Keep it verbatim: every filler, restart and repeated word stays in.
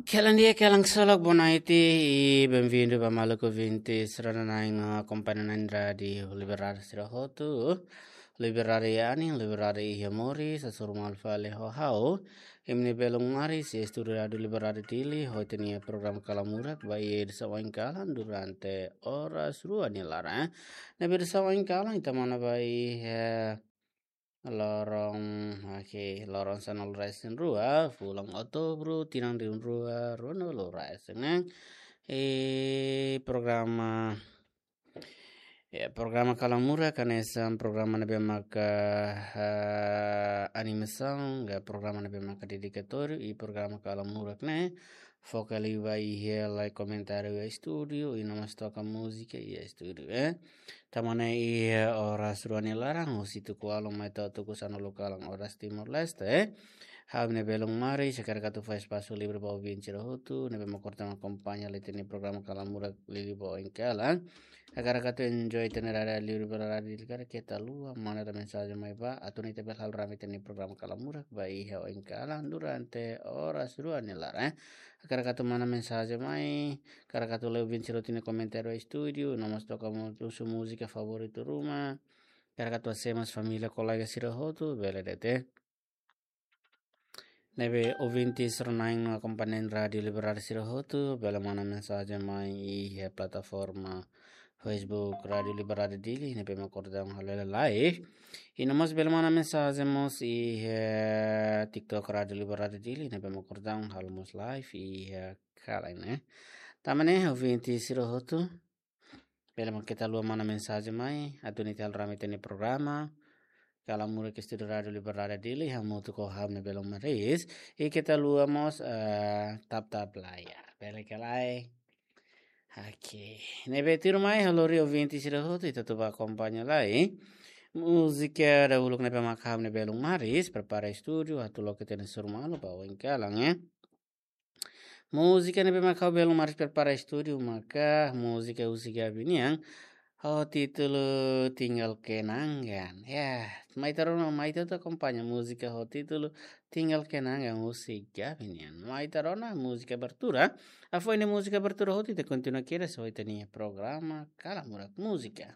Kalan di'ak, kalan ksolok, boa noite i bem-vindo ba maluk ouvinte sira-ne'ebé akompaña Rádiu Liberdade sira hotu. Liberdade iha anin, liberdade iha moris, hasoru malu fali ho ha'u, Imni Belum Maris, iha estúdiu Rádiu Liberdade Dili, ho ita-nia programa Kala Murak ba iha edisaun oin kalan durante oras rua nia laran. Ne'ebé edisaun oin kalan ita manán ba iha loron, oke, loron sanulu-resin-rua, fulan Outubru, tinan rihun rua, ruanulu-resin, ne'e? I programa, ya, programa Kala Murak hanesan programa ne'ebé maka, ah, animasaun, ka programa ne'ebé maka dedikatóriu, i programa Kala Murak ne'e foka liu ba iha lai komentáriu iha estúdiu, i no mós toka múzika iha estúdiu, eh. Ita manán iha oras rua nia laran, husi tuku ualu mai to'o tuku sanulu kalan oras Timor-Leste, eh. Ha'u Imni Belum Maris, hakarak atu fó espasu livre ba ouvinte sira hotu ne'ebé mak orsida akompaña ita-nia programa Kala Murak liuliu ba oin kalan. Hakarak atu enjoy ita-nia rádiu liuliu ba rádiu Dili karik keta haluha manda mensajen mai ba, atu nune'e ita bele halo rame ita-nia programa Kala Murak ba iha oin kalan durante oras rua nia laran, eh. Hakarak atu manán mensajen mai, hakarak atu lee ouvinte sira hotu nia komentáriu iha estúdiu, no mós toka mu-, husu múzika favoritu ruma, hakarak atu hasoru mós família, kolega sira hotu, bele de'it. Ne'ebé ouvinte sira-ne'ebé akompaña Rádiu Liberdade sira hotu, bele manán mensajen mai iha plataforma Facebook Rádiu Liberdade Dili, ne'ebé mak orsida halo hela live. I no mós bele manán mensajen mós iha TikTok Rádiu Liberdade Dili, ne'ebé mak orsida halo mós live iha kalan ne'e. Tanba ne'e ouvinte sira hotu, bele mak keta haluha manán mensajen mai, atu nune'e ita halo rame ita-nia programa Kala Murak iha estúdiu Rádiu Liberdade Dili, hamutuk ho ha'u Imni Belum Maris, i keta haluha mós, eh, tap-tap layar. Bele ka lae? Oke. Ne'ebé tuirmai, ha'u lori ouvinte sira hotu, ita atu bá akompaña lai múzika dahuluk ne'ebé mak ha'u Imni Belum Maris prepara iha estúdiu, atu loke ita-nia hasoru malu ba oin kalan, eh. Múzika ne'ebé mak ha'u Belum Maris prepara iha estúdiu maka múzika husi Gabi nian, ho títulu Tinggal Kenangan. Ya, mai ita rona, mai ita atu akompaña múzika ho títulu Tinggal Kenangan husi Gabi nian. Mai ita rona, múzika abertura. Hafoin múzika abertura hotu, ita kontinua kedas ho ita-nia programa Kala Murak Múzika.